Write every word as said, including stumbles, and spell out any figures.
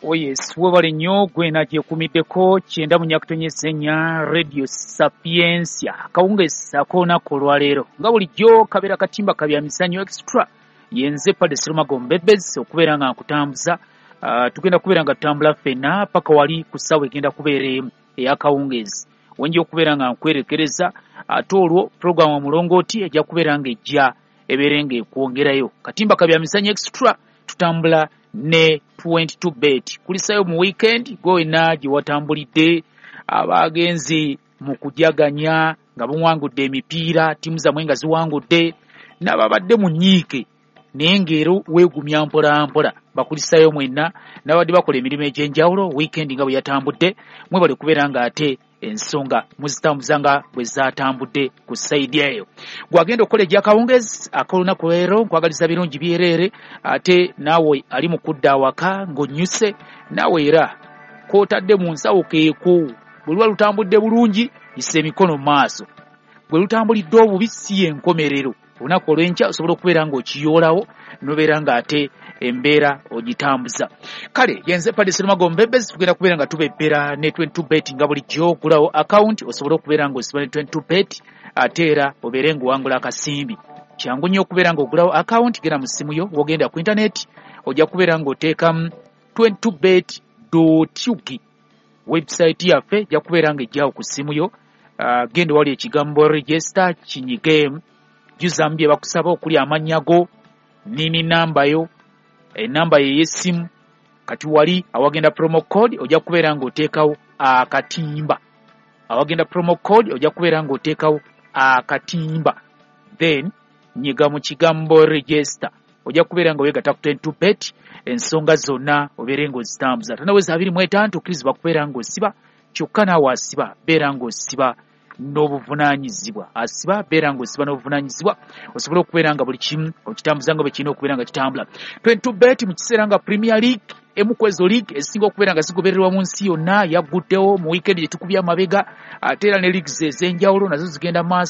Oh yes, webale nnyo gwena gyekumiddeko kyenda mu nyakutonyesa ennya Radio Sapientia. Akawungeezi ak'olunaku olwaleero nga bulijjo kabeera katimba kabya misanyu extra. Yenze Padre Serumago Mbebezi okubeera nga nkutambuza. Uh, tugenda kubeera nga tutambula ffenna paka wali ku ssaawa egenda kubeera emu ey'akawungeezi. Wenja okubeera nga nkwerekereza, ate olwo puroguramu omulongooti ejja kubeera nga ejja ebeere nga ekwongerayo. Katimba kabya misanyu extra tutambula ne twenty-two bet. Kulisayo mu weekend gwena gye watambulidde, abagenzi mu kujaganya nga buwangudde emipiira, ttiimu zammwe nga ziwangudde, n'ababadde mu nnyiike naye ng'era weegumya mpola mpola. Bakulisayo mwenna n'abadde bakola emirimu egy'enjawulo weekend nga bwe yatambudde, mwebale kubeera ng'ate ensonga muzitambuza nga bwe zaatambudde ku sayidi eyo. Gwagenda okukola egy'akawungeezi ak'olunaku leero, nkwagaliza birungi byereere, ate naawe ali mu kudda awaka ng'onnyuse, naawe era k'otadde mu nsawo keeko. Bwe luba lutambudde bulungi, yisa emikono mu maaso. Bwe lutambulidde obubi, si y'enkomerero. Olunaku olw'enkya osobola okubeera ng'okiyoolawo n'obeera ng'ate embeera ogitambuza. Kale yenze Padre Serumago Mbebezi, tugenda kubeera nga tubebbera ne twenty-two bet nga bulijjo. Ogulawo account osobole okubeera ng'osiba ne twenty-two bet, ate era obeere ng'owangula akasimbi. Kyangu nnyo okubeera ng'ogulawo account, genda mu ssimu yo, w'ogenda ku internet ojja kubeera ng'oteekamu twenty-two bet dot U G. Website yaffe ejja kubeera ng'ejjawo ku ssimu yo. Uh, genda wali ekigambo register kinyigeemu, jjuzamu bye bakusaba okuli amannya go, nini namba yo, enamba ye ey'essimu. Kati wali awagenda promo code ojja kubeera ng'oteekawo akatimba. Awagenda promo code ojja kubeera ng'oteekawo akatimba, then nyiga mu kigambo register, ojja kubeera nga weegatta ku twenty-two bet, ensonga zonna obeere ng'ozitambuza. Tannaweza abiri mu etaano tokkirizibwa kubeera ng'osiba, kyokka naawe asiba beera ng'osiba n'obuvunaanyizibwa. Asiba beera ng'osiba n'obuvunaanyizibwa, osobole okubeera nga buli kimu okitambuza nga bwe kirina okubeera nga kitambula. twenty-two bet mu kiseera nga Premier League, emu ku ezo league ezisinga okubeera nga zigobererwa mu nsi yonna, yagguddewo mu weekend gye tukubye amabega, ate era ne leagues ez'enjawulo nazo zigenda maaso.